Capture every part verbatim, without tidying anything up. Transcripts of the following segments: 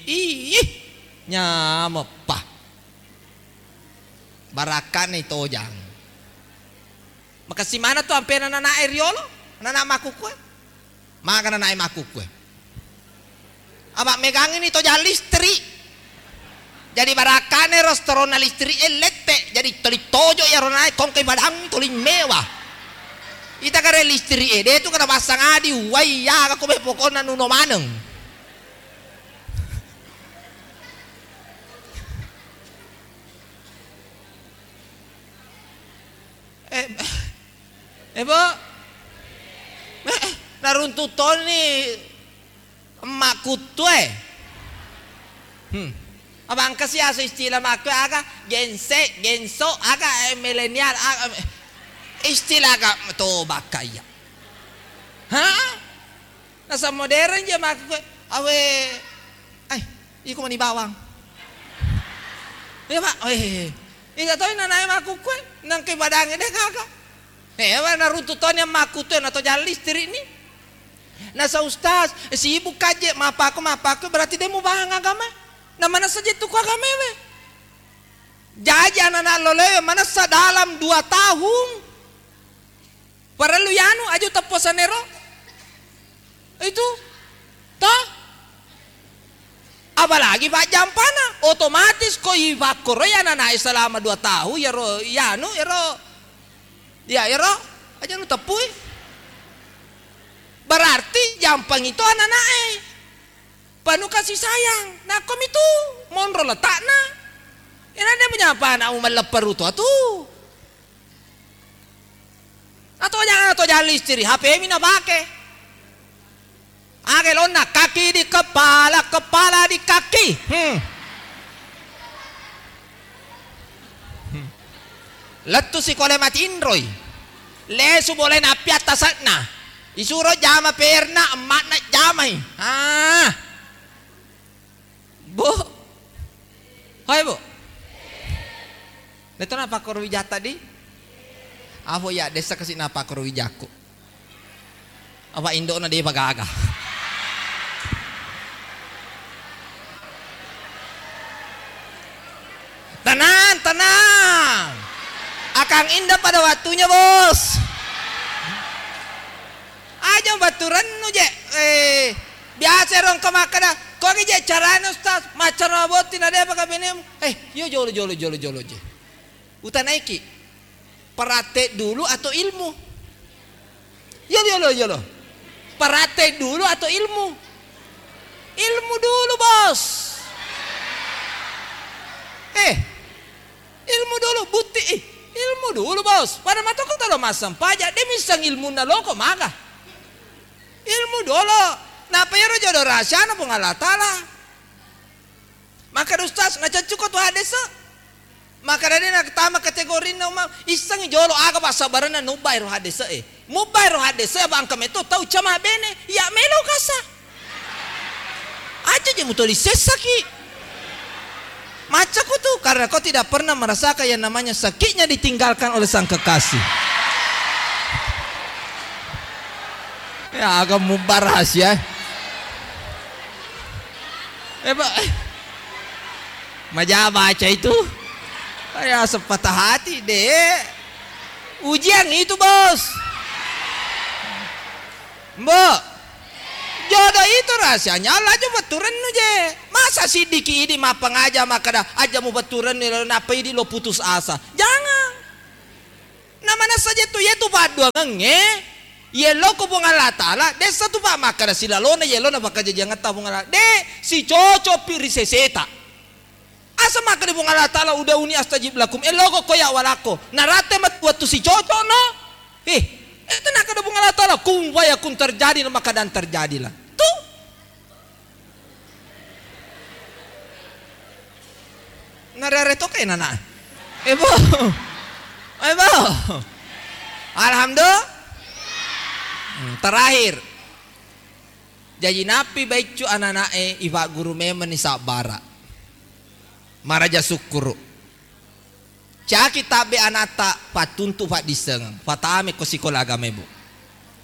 Ih, nyameppa. Barakka'na itojang. Makessing maneng tu ampena nanae riolo, nana makkukkue. Maga nanae makkukkue. Apa megangi ni tojang listrik. Jadi barakka'na ero setoronna listrik e lette, jadi toli tojo iyaro nanae kongkai padang toli mewa. Ita kare listrik e, de tu kada passang adi, uwai ya, aku be pokokna nuno maneng. Eh, eh, Bo? Eh, eh, naruntu toni emmakkuttue. Hmm. Apa engka si asu istilah makku aga? Gense, genso, aga, eh, milenial, aga, eh, istilah aga to bakka iya. Hah? Nasa modern je makku, awe, ai, iko mani bawang. Iya, Pak. Eh, iya toi nanae makkukkue, nangke badange de gaga. Eh, apa naruntu toni makkuttue na tojang listrik ni. Nasa ustaz, sibuk kaje, mapakku, mapakku, berarti de mubahang agama. Na manessa je tu ku agama we. Jaji anak-anak loloe manessa dalam dua tahun. Parellu yanu aju tepposanero. Itu. Toh? Apalagi pajjampana, otomatis ko ipakkoroi anak-anak selama dua tahun, yaro, yanu, yaro. Ya, yaro. Aja nu teppui. Berarti jampang itu anak-anak e. Penuh kasih sayang. Nakko mitu monro letakna. Ina de punya apa anak umallepperu tu atu. Ato jangan, ato jangan listrik, H P mi napake. Age lonna, kaki di kepala, kepala di kaki. Hmm. Hmm. Lettu sikole matinroi. Lesu bolena api attase'na. Isuro jama perna, emmakna jamai. Ah. Bu. Hai, Bu. Deto napakkoro wijatta di? Apo ya, dessa kasi napakkoro wijakku. Apa indokna depa gaga. Tenang, tenang. Akang Indah pada waktunya, Bos. Aja batturennu je. Eh, biasa ero engka makkeda, "Kogi je carana, Ustaz?" Maccara botting na depa kabenemu. Eh, yo jolo, jolo, jolo, jolo je. Utanaiki, praktek dulu atau ilmu? Yolo, yolo, yolo. Praktek dulu atau ilmu? Ilmu dulu, Bos. Eh, ilmu dulu, bukti, eh, ilmu dulu, Bos. Pada matoko tolo massempajang, de misseng ilmunna loko maga. Ilmu dolo. Napa ero jodo rahasiana Puang Allah Taala. Makkeda Ustaz, naceccuko tu hadese? Makkeda de natama kategorinna umma, issengi jolo aga passabarenna nubba ero hadese e. Mubba ero hadese, apa engka meto tau cama bene, iya melo kasa. Aja je mutoli sessaki. Maccaku tu, karena kau tidak pernah merasakan yang namanya sakitnya ditinggalkan oleh sang kekasih. Ya, aga mubba rahasia. Eh, Pak. Maja baca itu. Kayak sepatah hati, Dek. Ujian itu, Bos. Mbok. Jodoh itu rahasianya Allah aja betturennu je. Masa siddiki idi mappangaja makkeda aja mu betturennu, nappa idi lo putus asa. Jangan. Na manessa je tu, yetu padduangengnge, yelloko Puang Allah Taala, dessa tu pa makkeda silalona yellona pakkajajiangetta Puang Allah. De, sicocokpi ri seseta. Asa makkeda Puang Allah Taala, "Ud'uni astajib lakum," elloko ko ya walakko. Naratte met-, wettu sicocokno. Eh, itu nakkeda Puang Allah Taala, "Kun fayakun," terjadi, maka dan terjadilah. Tu. Narare to kai nana. Eh, Bo. Eh, Bo. Alhamdulillah. Hmm, terakhir. Jaji nappi baiccu anana'e ifagguru memenni sabbara. Maraja sukkuru. Caki tabbe anatta pattuntu faddissengeng. Fatame ko sikola agama, Bu.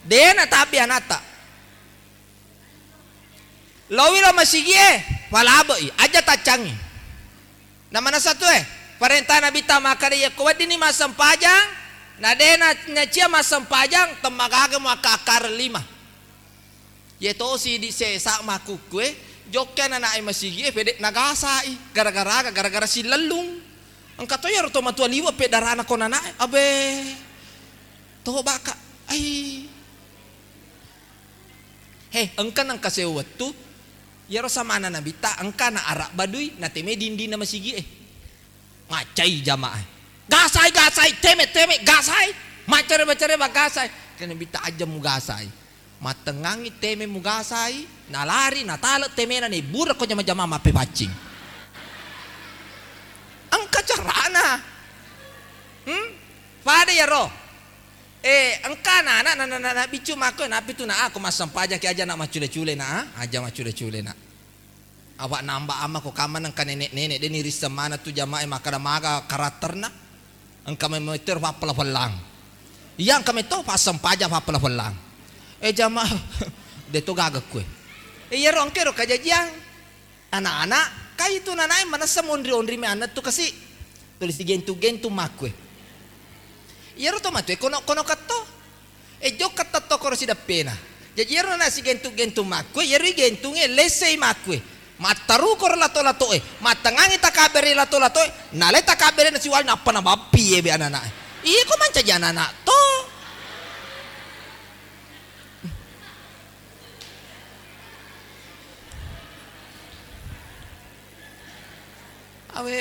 Dena tabbe anatta. Lowi lo masigie, palabe'i, aja taccangi. Na manessa tu e, parenta Nabitta makkeda, yakko weddinni massempajang, na de' na-, nacia massempajang, temmagaga muakka-akkareng lima. Ye tosi di sesa makkukkue, jokke anana'e masigie, pede' nagasai, gara-gara aga, gara-gara sillellung. Engka to iyaro to matua liwe' peddarana ko nana'e, abe, tobaka, ai. He, engka nengka sewa wettu, iyaro samana Nabitta engka na arabba dui, nateme dindinna masigie. Maccai jamaah. Gasai, gasai, teme, teme, gasai. Maccare, maccare, magasai. Kena Nabitta aja mugasai. Mattengngangi teme mugasai, nalari, natale temena, nebbura ko jama-jama mappepaccing. Engka carana. Hmm? Pada iyaro. Eh, engka anak-anak, na, na, na, na, biccu makko, napi tu na, ah, ko massempajaki aja na maccule-cule na, ah, aja maccule-cule na. Apa namba amma ko kamma engka nenek-nenek, de' ni risseng maneng tu jamaah makkeda maga karakterna. Engka memang itu fappela-pelang. Iya, engka metto fassempajang fappela-pelang. Eh, jamaah, de' to gaga kue. Eh, iyaro engka ro kajajiang. Anak-anak, kai tu nanae manessa monri-onri me anna tu kasi. Tuli sigentu-gentu makkue. Iyaro to matue kono-kono katto. E jokka tettokoro sideppena. Jaji iyaro na sigentu-gentu makkue, iyaro igentunge lessei makkue. Mattarukoro lato-latoe, mattengngangi takabbere lato-latoe, nalai takabbere nasiwali nappa nabappi ebe anak-anak. Iko mancaji anak-anak to. Awe.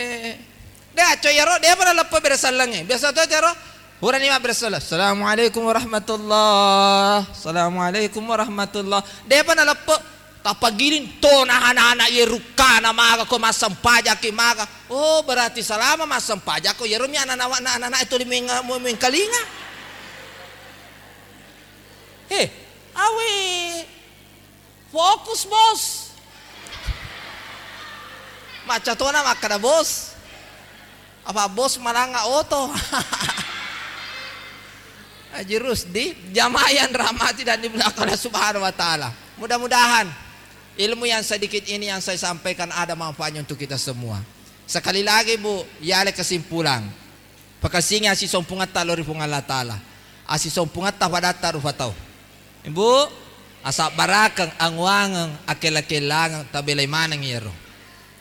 De' acco iyaro, de'pa naleppe bere sellengnge. Biasa to iyaro, purani mabbere selleng. Assalamualaikum warahmatullah. Assalamualaikum warahmatullah. De'pa naleppe. Tappa giling to na anak-anak ye rukkana maga ko massempajaki maga. Oh, berarti selama massempajakko iyaro mi anak-anak, anak-anak tuli meng-, mengkalinga. He, awe. Fokus, Bos. Macca tona makkeda, Bos. Apa bos malanga oto? Haji Rusdi, jamaah yang dirahmati dan dimuliakan Allah Subhanahu wa Ta'ala. Mudah-mudahan ilmu yang sedikit ini yang saya sampaikan ada manfaatnya untuk kita semua. Sekali lagi, Bu, yale kesimpulan. Pakessingi assisompungetta lao ri Puang Allah Taala. Assisompungetta padatta rupa tau. Ibu, asabbarakeng, anguangeng, akella-kellangeng, tabelai maneng iyaro.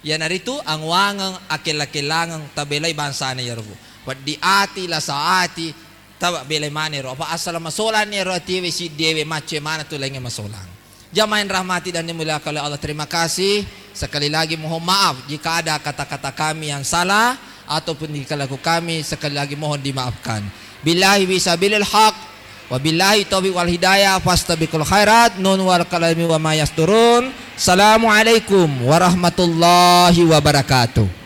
Iyanaritu anguangeng, akella-kellangeng, tabelai bangsana iyaro, Bu. Peddi ati, lasa ati, tabelai maneng iyaro. Apa asala masolanni iyaro atiwe, siddiwe, maccoe maneng tu laingnge masolang. Jamaah yang dirahmati dan dimuliakan oleh Allah, terima kasih. Sekali lagi mohon maaf jika ada kata-kata kami yang salah ataupun tingkah laku kami, sekali lagi mohon dimaafkan. Billahi fi sabilil haq, wa billahi taufiq wal hidayah, fastabiqul khairat, nun wal qalami wa ma yasturun. Assalamualaikum warahmatullahi wabarakatuh.